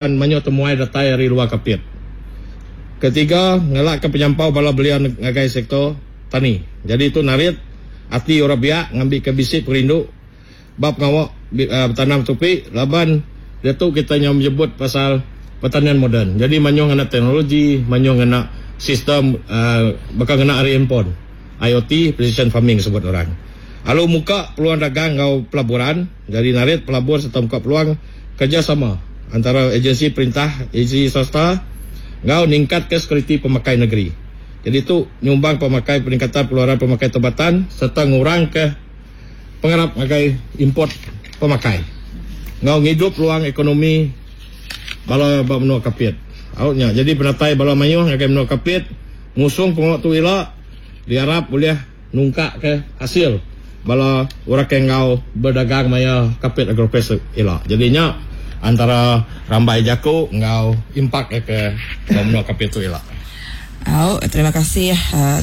Mayuh temuai datai ari luar Kapit. Ketiga, ngelakka penyampau bala belia ngagai sektor tani. Jadi tu narit ati orang biak ngambika bisi pengerindu ba pengawa betanam tupi laban diatu kita nyau menyebut pasal pertanian moden. Jadi mayuh ngena teknologi, mayuh ngena sistem baka ngena ari handphone, IOT, precision farming sebut orang. Lalu muka peluang dagang enggau pelaburan, jadi narit pelabur sereta muka peluang Kerejasama antara ejensi perintah, ejensi swasta enggau ningkatka sekuriti pemakai negeri. Jadi tu nyumbang pemakai peningkatan pengeluaran pemakai tempatan sereta ngurangka pengarap ngagai import pemakai enggau ngidup peluang ekonomi bala ba menua Kapit. Au nya jadi penatai bala mayuh ngagai menua Kapit ngusung pengawa tu ila diarap ulih nungkaka asil bala orang ke enggau bedagang maya Kapit Agrofest ila. Jadi nya antara rambai jaku enggau impak iya ke ba menua Kapit tu ila. Au, terima kasih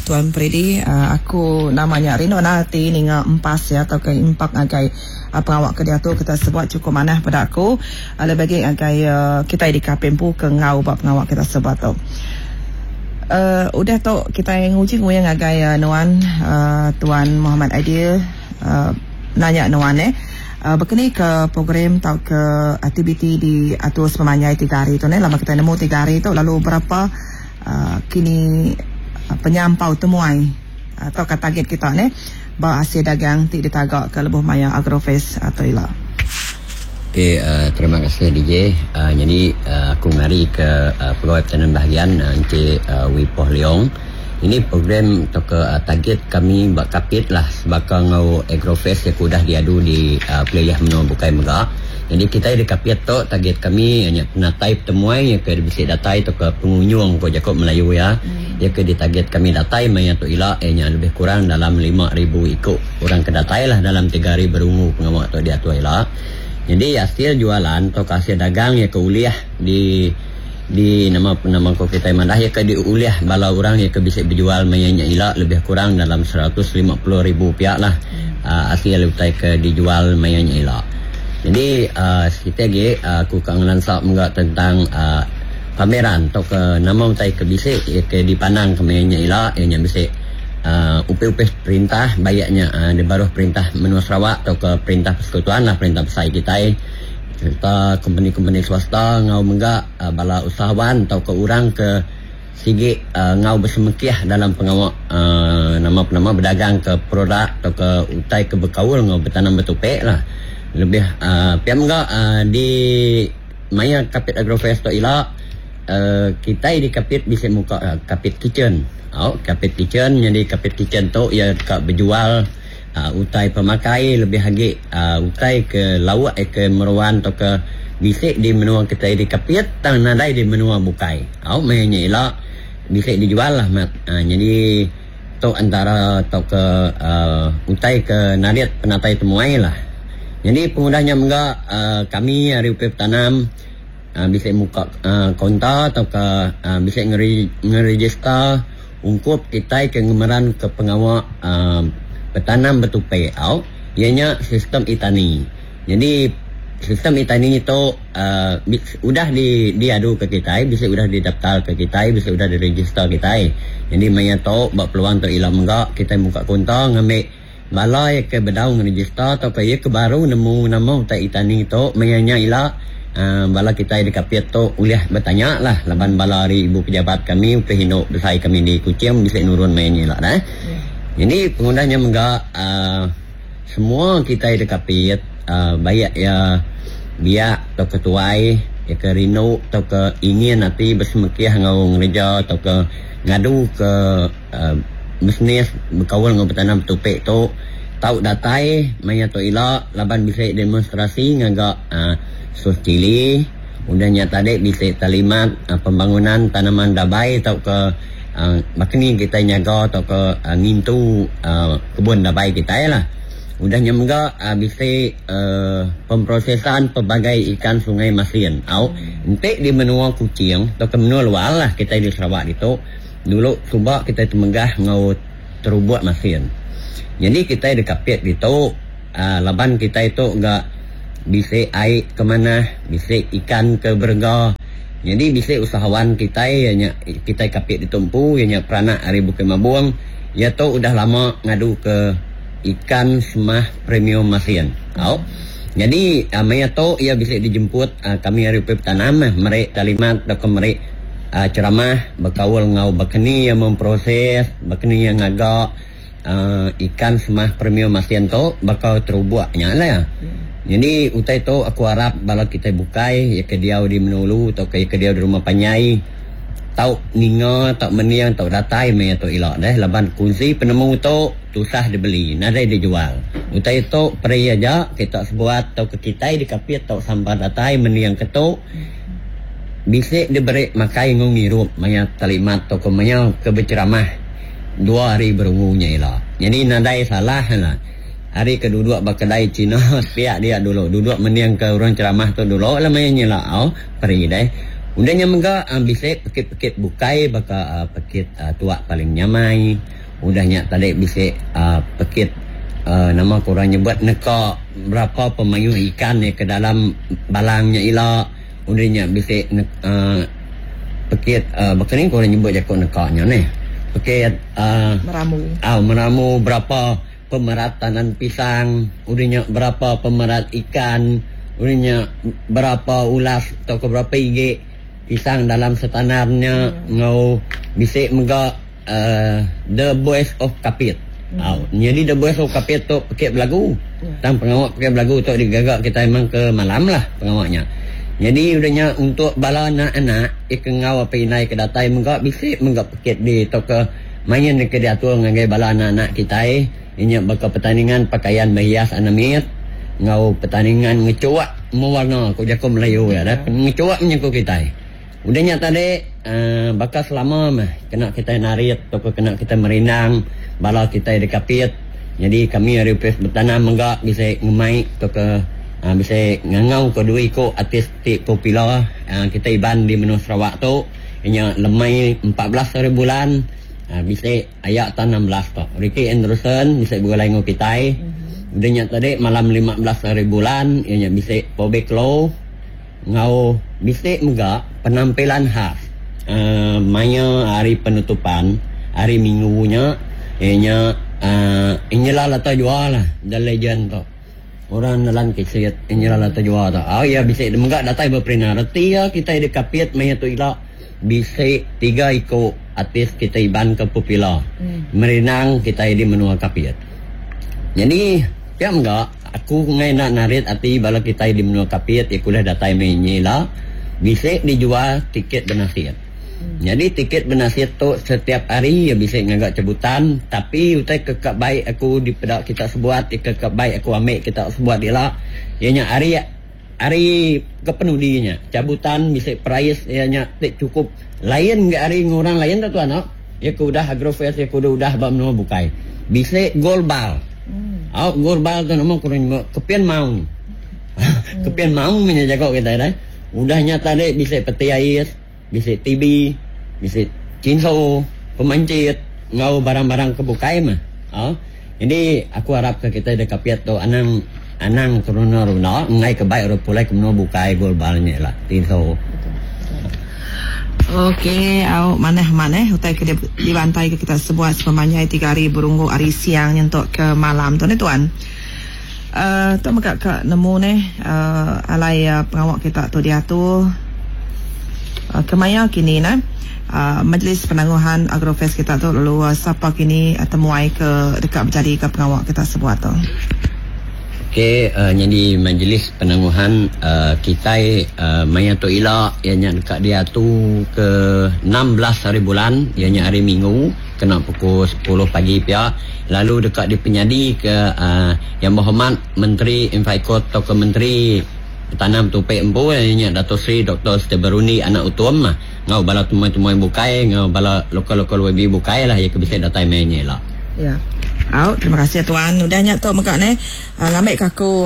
Tuan Pridi. Aku nama nya rindu endar ati ninga empas iya tauka impak ngagai pengawa ke diatu kita sebuat chukup manah peda aku lebih agi ngagai kitai di Kapit empu ke enggau ba pengawa kita sebuat tu. Uh, udah tu kitai nguji nguyang ngagai uh, nuan uh, Tuan Muhammad Aidil uh, nanya nuan eh uh, bekeni ke program tau ke aktiviti di atur sepemanjai tiga hari tu ne lama kitai nemu tiga hari tu lalu berapa uh, kini uh, penyampau temuai atau uh, ke target kita ne ba hasil dagang ti ditaga ke lebuh maya Agrofest atau ila. Okey, uh, terima kasih DJ. Uh, jadi uh, aku ngari ke uh, Pegawai Pertanian Bahagian uh, Encik uh, Wee Poh Leong. Ini program atau ke uh, target kami ba Kapit lah sebaka ngau Agrofest yang udah diadu di uh, pelilih menua bukai mega. Jadi kita di Kapit tu target kami hanya penatai pertemuan yang ke bisi datai atau ke pengunjung ko jaku Melayu ya. Hmm. Yang ke ditarget kami datai maya tu ila ianya lebih kurang dalam 5000 iku orang ke datai lah dalam 3 hari berungu pengawa tu diatur ila. Nyadi asil jualan tauka asil dagang iya ke ulih di di nama nama ko kitai madah iya ke diulih bala orang iya ke bisi bejual maya nya ila lebih kurang dalam 150 ribu pia lah uhh asil utai ke dijual maya nya ila. Nyadi uhh siti agi aku ka ngelansa mega tentang uhh pameran tauka nama utai ke bisi iya ke dipandang ke maya nya ila iya nya bisi uhh upih-upih perintah baik nya di baruh perintah menua Sarawak tauka perintah persekutuan lah perintah besai kitai sereta kompeni-kompeni swasta enggau mega bala usahawan tauka orang ke sigi enggau besemekih dalam pengawa uhh nama penama bedagang ke produk tauka utai ke bekaul enggau betanam betupi lah lebih uhh pia mega uhh di maya Kapit Agrofest tu ila uhh kitai di Kapit bisi muka Kapit Kitchen. Au, Kapit Kitchen nyadi Kapit Kitchen tu iya deka bejual uhh utai pemakai lebih agi uhh utai ke lauk ke meruan tauka bisi di menua kitai di Kapit tang nadai di menua bukai. Au meh nya ila bisi dijual lah mat. Uhh nyadi tu antara tauka uhh utai ke narit penatai temuai lah. Nyadi pengudah nya mega uhh kami ari Upih Petanam. Bisi muka kaunta tauka bisi ngerejista ungkup kitai ke ngemeranka pengawa betanam betupi au iya nya sistem e-tani. Nyadi sistem e-tani tu udah diaduka kitai, bisi udah didaftarka kitai, bisi udah direjista kitai. Nyadi maya tu ba peluang tu ila mega kitai muka kaunta ngambi Bala iya ke bedau ngerejista tauka iya ke baru nemu nama utai e-tani tu maya nya ila bala kitai di Kapit tu ulih betanya lah laban bala ari ibu pejabat kami upih indu besai kami di Kuching bisi nurun maya nya ila dah. Nyadi pengudah nya mega semua kitai di Kapit baik iya biak tauka tuai iya ke rindu tauka ingin ati besemekih enggau ngereja tauka ngadu ke Bisnis bekaul enggau betanam betupi tu tau datai maya tu ila laban bisi demonstrasi ngaga sos cili udah nya tadi bisi talimat pembangunan tanaman dabai tauka baka ni kitai nyaga tauka ngintu kebun dabai kitai lah. Udah nya mega bisi pemprosesan pelbagai ikan sungai masin au enti di menua Kuching tauka menua luar lah kitai di Sarawak ditu. Dulu suba kitai temegah enggau terubuk masin. Nyadi kitai deka pit ditu laban kitai tu ga Bisi ai ke manah, bisi ikan ke berega. Nyadi bisi usahawan kitai iya nya kitai Kapit ditu empu iya nya peranak ari Bukit Mabong. Iya tu udah lama ngadu ke ikan semah premium masin. Au. Nyadi maya tu iya bisi dijemput kami ari Upis Betanam meri taklimat tauka meri ceramah bekaul enggau baka ni iya memproses, baka ni iya ngaga. Ikan semah premium masin tu baka terubuk nya lah. Nyadi utai tu aku arap bala kitai bukai iya ke diau di menua ulu tauka iya ke diau di rumah panjai tau ninga tau mending tau datai meh iya tu ila deh laban kunsi penemu tu tusah dibeli nadai dijual. Utai tu peri aja kita sebuat tauka kitai dikapit tau sampah datai mending ke tu bisi diberi makai enggau ngirup maya talimat tauka maya ke beceramah. Dua hari berungu nya ila. Nyadi nadai salah lah. Hari ke duduk ba kedai Cina sepiak dia dulu duduk mending ke orang ceramah tu dulu lah maya nya ila au peri deh. Udah nya mega bisi pekit-pekit bukai baka pekit tuak paling nyamai. Udah nya tadi bisi pekit nama ku orang nyebut neka berapa pemayuh ikan ke dalam balang nya ila. Udah nya bisi pekit baka ni ku orang nyebut jaku neka nya neh. Pekit Meramu. Au meramu berapa pemerat tandan pisang, udah nya berapa pemerat ikan, udah nya berapa ulas tauka berapa igi pisang dalam setandan nya enggau bisi mega The Voice of Kapit. Au nyadi The Voice of Kapit tu pekit belagu. Tang pengawa pekit belagu tu digaga kitai memang ke malam lah pengawa nya. Nyadi udah nya untuk bala anak-anak ke enggau apai indai ke datai mega bisi mega pekit di tauka main ke diatur ngagai bala anak-anak kitai inya baka pertandingan pakaian berhias anak mit enggau pertandingan ngechuak mewarna ku jaku Melayu iya dah. Ngechuak meh jaku kitai. Udah nya tadi baka selama meh kena kitai narit tauka kena kitai merindang bala kitai di Kapit. Nyadi kami ari Opis Betanam mega bisi ngemai tauka bisi ngangauka dua iku artis ti popular kitai Iban di menua Sarawak tu iya nya lemai 14 hari bulan bisi aya taun 16 tu. Ricky Anderson bisi begulai enggau kitai. Udah nya tadi malam 15 hari bulan iya nya bisi Bobby Klo. Enggau bisi mega penampilan khas maya hari penutupan hari minggu nya iya nya Angela Lata Jua lah the legend tu. Orang nelan kisit Angela Lata Jua tu. Au iya bisi mega datai beperina. Reti iya kitai di Kapit maya tu ila bisi tiga iku artis kitai Iban ke popular merindang kitai di menua Kapit. Nyadi pia mega. Aku enggai enda narit ati bala kitai di menua Kapit iya ke ulih datai meh nyi ila bisi dijual tiket benasit. Nyadi tiket benasit tu setiap hari iya bisi ngaga cabutan tapi utai ke ka bai aku dipeda kita sebuat iya ke ka bai aku ambi kita sebuat ila iya nya hari hari ke penudi nya cabutan bisi perais iya nya ti chukup lain ga ari enggau orang lain tu tuan au. Iya ke udah Agrofest iya ke udah udah ba menua bukai. Bisi gol bal. Au gol bal tu nama ku orang nyebut kepin maung. Kepin maung meh nya jaku kitai deh. Udah nya tadi bisi peti ais, bisi TV, bisi chinso, pemancit enggau barang-barang ke bukai meh. Au. Jadi aku arap ke kitai da Kapit tu anang anang terunda-runda enggai ke bai orang pulai ke menua bukai gol bal nya ila. Tinso. Ok au manah amat eh utai ke dibantai ke kita sebuat sepemanjai tiga hari berunggu hari siang nyentuk ke malam tu neh tuan. Uh, tu mega ka nemu neh uh, alai uh, pengawa kita tu diatur uh, kemaya kini neh. Uh, Majlis Penangguhan Agrofest kita tu lalu uh, sapa kini uh, temuai ke deka bejadika pengawa kita sebuat tu. Okey, uh, nyadi Majlis Penangguhan uh, kitai uh, maya tu ila iya nya deka diatu ke 16 hari bulan iya nya hari Minggu kena pukul 10 pagi pia lalu deka dipenyadi ke uh, Yang Berhormat Menteri Infraikot tauka Menteri Betanam Tupi empu iya nya Dato Sri Doktor Stephen Rundi Anak Utom enggau bala temuai-temuai bukai enggau bala lokal-lokal YB bukai lah iya ke bisi datai meh nya ila. Ya. Au, terima kasih tuan. Udah nya tu mega neh ngambi ka aku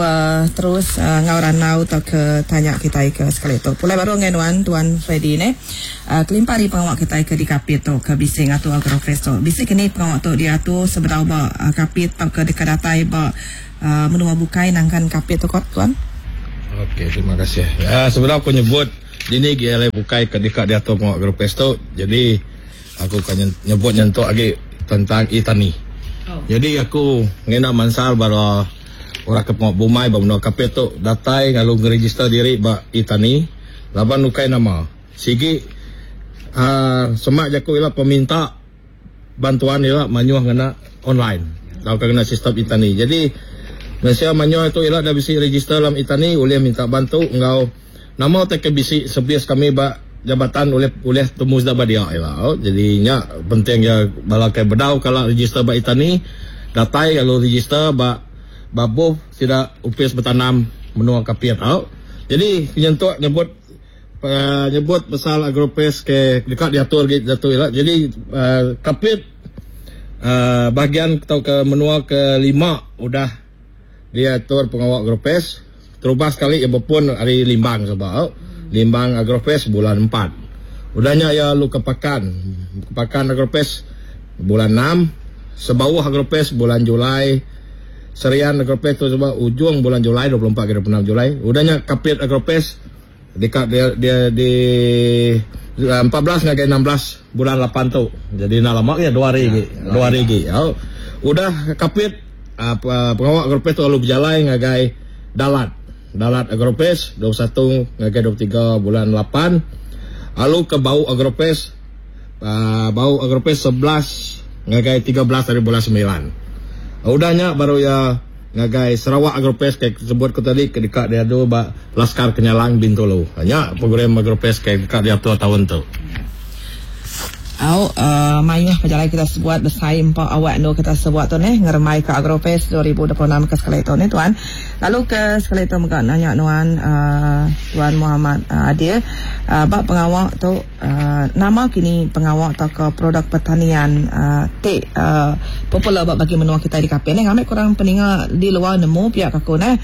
terus enggau randau tauka tanya kitai ke sekali tu. Pulai baru ngagai nuan tuan Freddy neh. Kelimpah ari pengawa kitai ke di Kapit tu ke bisi ngatur Agrofest tu. Bisi ke ni pengawa tu diatur sebedau ba Kapit tauka deka datai ba menua bukai nangkan Kapit tu ko tuan? Okey, terima kasih. Ya, sebedau aku nyebut dini gi alai bukai ke deka diatur pengawa Agrofest tu, jadi aku ka nyebut nyentuk agi tentang e-tani. Jadi aku ngena mansal bala orang ke pengawa bumai ba menua Kapit tu datai lalu ngeregister diri ba e-tani laban ukai nama sigi aaa semak jaku ila peminta bantuan ila mayuh ngena online tauka ngena sistem e-tani. Jadi mensia mayuh tu ila dah bisi register dalam e-tani ulih minta bantu enggau nama utai ke bisi servis kami ba jabatan ulih ulih temu sida ba dia ila. Jadi nya penting iya bala ke bedau kala register ba e-tani datai lalu register ba ba booth sida opis betanam menua Kapit au. Jadi nyentuk nyebut Nyebut pasal Agropes ke deka diatur agi diatu ila. Jadi Kapit bahagian tauka menua ke lima udah diatur pengawa Agropes. Terubah sekali iya bepun ari Limbang suba. Limbang Agropes bulan empat. Udah nya iya lalu ke Pakan. Pakan Agropes bulan enam. Sebauh Agropes bulan Julai. Serian Agropes tu suba ujung bulan Julai 24 ke 26 Julai. Udah nya Kapit Agropes Deka dia dia di 14 ngagai 16 bulan 8 tu. Jadi enda lama agi dua hari agi. Dua hari agi. Au. Udah Kapit pengawa Agropes tu lalu bejalai ngagai Dalat. Dalat Agropes 21 ngagai 23 bulan 8. Lalu ke Bau Agropes Bau Agropes 11 ngagai 13 hari bulan 9. Udah nya baru iya Ngagai Sarawak Agropes ke sebut ku tadi ke deka diadu ba Laskar Kenyalang Bintulu. Nya program Agropes ke deka diatur taun tu. Au mayuh pejalai kita sebuat besai empa awak endur kita sebuat tu neh ngerembai ke Agrofest 2026 ke sekali tu neh tuan. Lalu ke sekali tu mega nanya nuan tuan Muhammad Adil ba pengawa tu Nama kini pengawa tauka produk pertanian ti popular ba bagi menua kitai di Kapit neh ngambi kurang peninga di luar nemu pia ka aku neh.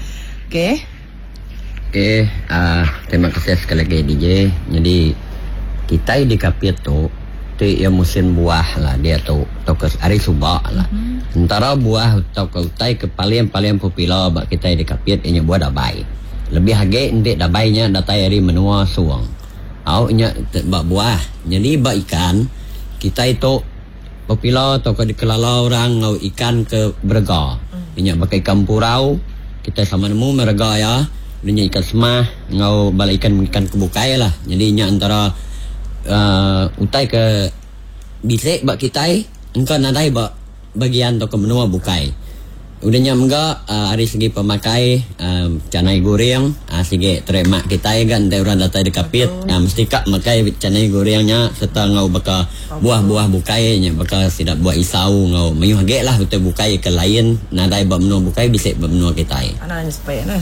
Okey. Okey uhh terima kasih sekali agi DJ. Nyadi kitai di Kapit tu ti iya musim buah lah diatu tauka ari suba lah. Entara buah tauka utai ke paling-paling popular ba kitai di Kapit iya nya buah dabai. Lebih agi enti dabai nya datai ari menua Song. Au nya ba buah. Nyadi ba ikan, kitai tu popular tauka dikelala orang enggau ikan ke berega. Nya baka ikan empurau, kitai sama nemu meh rega iya. Lalu nya ikan semah enggau bala ikan-ikan ke bukai lah. Nyadi nya entara uhh utai ke bisi ba kitai engka nadai ba bagian tauka menua bukai. Udah nya mega ari segi pemakai canai guring sigi terima kitai ga enti orang datai di Kapit mesti ka makai canai guring nya serta enggau baka buah-buah bukai nya baka sida buah isau enggau mayuh agi lah utai bukai ke lain nadai ba menua bukai bisi ba menua kitai. Anang nyesepek neh.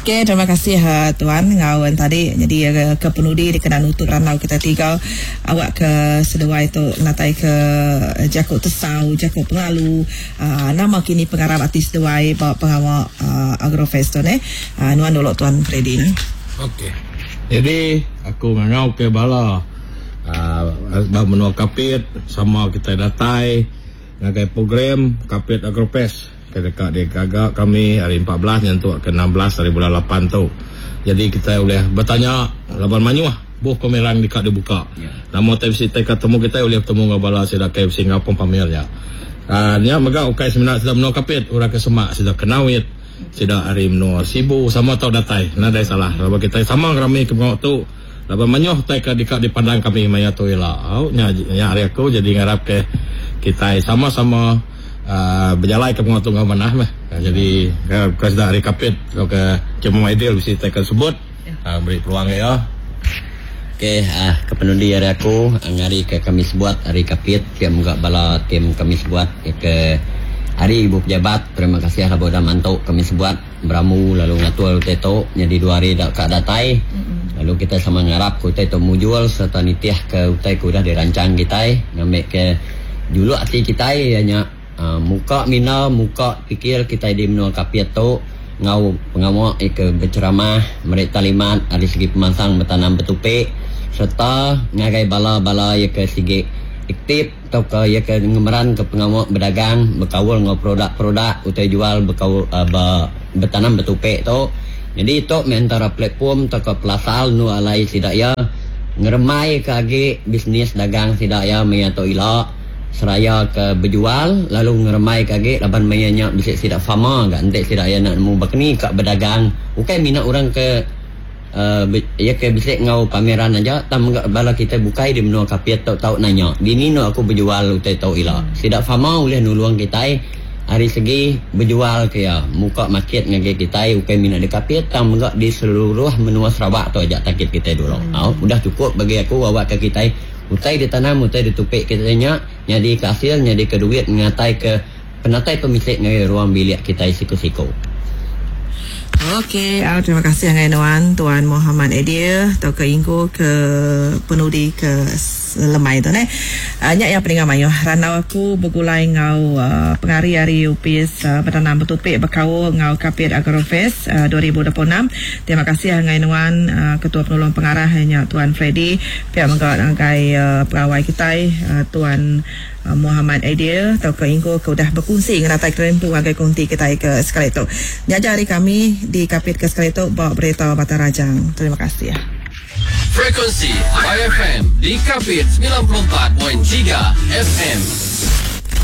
Okey terima kasih tuan enggau tadi nyadi ke penudi dikena nutup randau kita tiga. Awak ke seduai tu natai ke jaku tesau, jaku pengalu, nama kini pengarap ati seduai ba pengawa Agrofest tu neh. Nuan dulu Tuan Freddy neh. Ok. Jadi aku ngangau ke bala ba menua Kapit sama kitai datai ngagai program Kapit Agrofest ke deka digaga kami hari 14 nyentuk ke 16 hari bulan 8 tu. Jadi kitai ulih betanya laban mayuh. Buh pemerang deka dibuka. Nama utai bisi tai ka temu kitai ulih betemu enggau bala sida ke bisi enggau pun pamer nya. Aaa nya mega ukai semina sida menua Kapit, orang ke semak sida Kenawit, sida ari menua Sibu sama tau datai nadai salah laban kitai sama ngerami ke pengawa tu laban mayuh utai ke deka dipandang kami maya tu ila. Au nya nya ari aku jadi ngarap ke kitai sama-sama aaa bejalai ke pengawa tu enggau manah meh. Jadi ke sida ari Kapit tauka Cik Muhammad Aidil bisi tai ke sebut. Meri peluang iya. Okey, ke penudi ari aku ngari ke kami sebuat ari Kapit pia mega bala tim kami sebuat ke ari ibu pejabat terima kasih laban udah mantu kami sebuat beramu lalu ngatur utai tu nyadi dua hari da ka datai lalu kitai sama ngarap ke utai tu mujur sereta nitih ke utai ke udah dirancang kitai ngambi ke juluk ati kitai iya nya Muka minda muka pikir kitai di menua Kapit tu enggau pengawa iya ke beceramah meri taklimat ari segi pemansang betanam betupi sereta ngagai bala-bala iya ke sigi aktif tauka iya ke ngemeranka pengawa bedagang bekaul enggau produk-produk utai jual bekaul ba betanam betupi tu. Nyadi tu meh entara platform tauka pelasar endur alai sida iya ngerembaika agi bisnis dagang sida iya maya tu ila seraya ke bejual lalu ngerembaika agi laban maya nya bisi sida farmer ga enti sida iya enda nemu baka ni ka bedagang ukai mina orang ke uhh iya ke bisi enggau pameran aja tang mega bala kitai bukai di menua Kapit tu tau nanya dini enda aku bejual utai tu ila. Sida farmer ulih nulung kitai. Ari segi bejual ke iya, muka market ngagai kitai ukai mina di Kapit tang mega di seluruh menua Sarawak tu aja target kitai dulu. Au, udah chukup bagi aku awakka kitai utai ditanam utai ditupi kitai nya nyadika asil nyadika duit ngataika penatai pemisi ngagai ruang bilik kitai siku-siku. Okey, au terima kasih ngagai nuan Tuan Mohamad Edil tauka Inggu ke penudi ke Lemai tu neh. Nya iya peninga mayuh randau aku begulai enggau pengari ari Opis Betanam Betupi bekaul enggau Kapit Agrofest 2026. Terima kasih ngagai nuan Ketua Penulung Pengarah iya nya Tuan Freddy pia mega ngagai pegawai kitai Tuan Mohamad Aidil tauka Inggu ke udah bekunsi ngenatai kerimpu ngagai konti kitai ke sekali tu. Nya aja ari kami di Kapit ke sekali tu ba Berita Batang Rajang. Terima kasih. Frekuensi IFM di Kapit 94.3 FM.